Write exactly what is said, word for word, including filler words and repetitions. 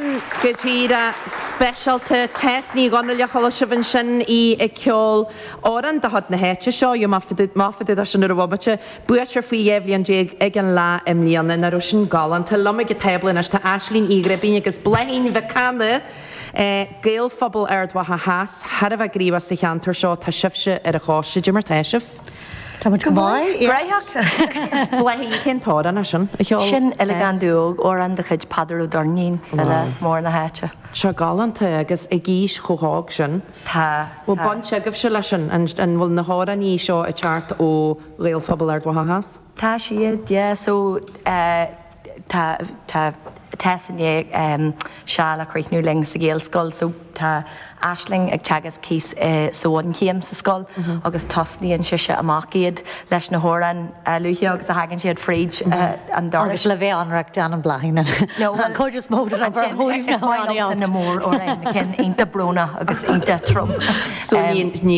Sin go díreach speisialta Tess Ní Dhonnaile chuala sibh ansin í ag ceol amhrán de chuid na háite seo, you má fadú sin ar a bhomaite, buaiteoir faoi dhá bhliain déag ag an Fhleadh i mbliana, nach raibh sin galánta. Liom ag an tábla anois tá Aisling Uí Ghribín agus Bláithín Mhic Cana, Gaelphobal Ard Mhacha Theas, thar a bheith gníomhach sa cheantar seo, tá sibhse ar an choiste, cad é mar tá sibh. Tá muid go maith. Graitheach. Bláithín cén t-amhrán é sin a cheol? Sin Uilleagán Dubh Óg, amhrán de chuid Peadar Ó Doirnín, file mór na háite. Seo galánta agus ag aois chomh hóg sin. Tá. Bhfuil baint agaibhse leis sin, an bhfuil na hamhráin seo ag teacht ó Ghaelphobal Ard Mhacha Theas? Tá siad, yeah, so uh, tá tá Tess i ndiaidh seal a chríochnú linn sa Ghaelscoil, so tá Aisling ag teagasc thíos sa bhunchéim sa scoil agus tosnaíonn sise amach iad leis na hamhráin luaithe agus a thagann siad fríd an doras. Agus le bheith ionraic déanann Bláithín an chuid is mó den obair ó thaobh na na mór-amhráin na cinn iontach brónach agus iontach trom. So ní